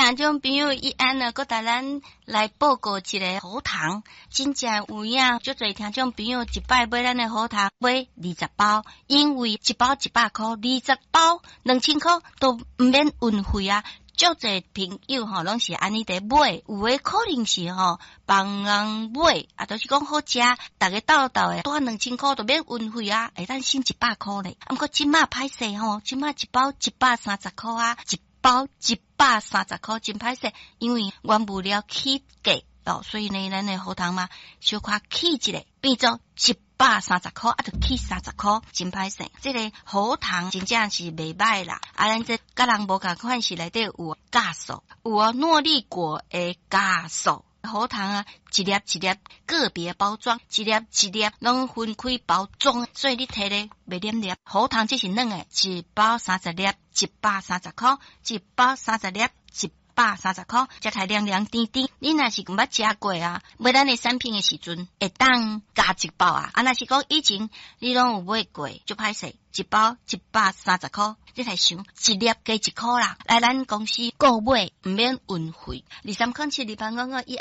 聽眾朋友伊按呢，閣帶咱來報告一个喉糖，真正有影，足濟聽眾朋友一擺買咱的喉糖買20包，因為一包100箍，20包2000箍都毋免運費啊。足濟朋友吼，攏是按呢佇買，有的可能是吼幫人買，啊，就是講好食，逐家鬥鬥的，帶2000箍就免運費啊，會當省100箍咧。啊，毋過這馬歹勢吼，這馬一包130箍啊，一包130箍真歹勢，因為原物料起價哦，所以呢，咱的喉糖嘛小可起一下，變做130箍，啊，就起三十箍，真歹勢。這个喉糖真正是袂䆀啦，啊，咱這佮人無仝款是內底有酵素，有哦諾麗果的酵素。喉糖啊，一粒一粒個別包裝，一粒一粒攏分開包裝，所以你提咧袂黏黏。喉糖這是軟的，一包30粒，130箍，一包三十粒，130箍，食起來涼涼甜甜。你若是毋捌食過啊，買咱的產品的時陣，會當加一包啊。啊，若是講以前你攏有買過，就歹勢，一包130箍，你來想一粒加1箍啦。來咱公司購買毋免運費，2307-2855一按。